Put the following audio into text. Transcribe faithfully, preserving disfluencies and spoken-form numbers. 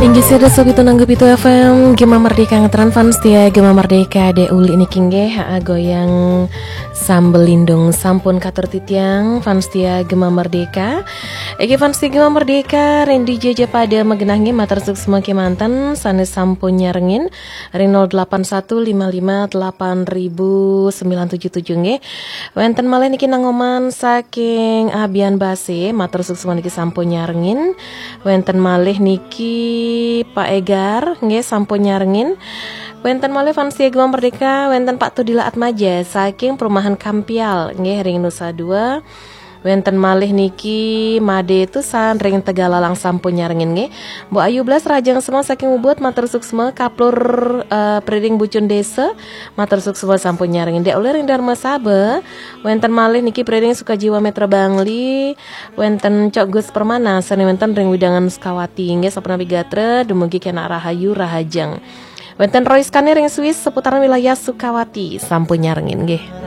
Inggih, sada sopi tunanggu pitu F M, Gema Merdeka ngeteran. Fans setia Gema Merdeka, Dek Uli niki nggih, aa, goyang sambil lindung sampun katur titiang. Fans setia Gema Merdeka. Iki fans setia Gema Merdeka, ring dija ja pada magenah nggih, matur suksma kemanten, sane sampun nyarengin ring nol delapan satu lima lima delapan ribu sembilan tujuh tujuh nggih. Wenten malih niki Nang Oman saking Abian Base, matur suksma niki sampun nyarengin. Wenten malih niki Pak Egar, nggih, sampun nyarengin. Wenten malih fans setia Gema Merdeka, wenten Pak Tudila Atmaja saking Perumahan Kampial, nggih, ring Nusa Dua. Wenten malih niki Made Tusan ring Tegalalang sampun nyarengin nggih. Mbok Ayu Blas Rajang Semeng saking Ubud, matur suksma. Kaplur, eh, Preding Bucun Desa, matur suksma sampun nyarengin. Dek Uli ring Darmasaba. Wenten malih niki Preding Sukajiwa Metra Bangli. Wenten Cok Gus Permana sane wenten ring wewidangan Sukawati nggih, sapunapi gatra dumugi kenak rahayu rahajeng. Wenten Roy Skane ring Swiss seputaran wilayah Sukawati sampun nyarengin nggih.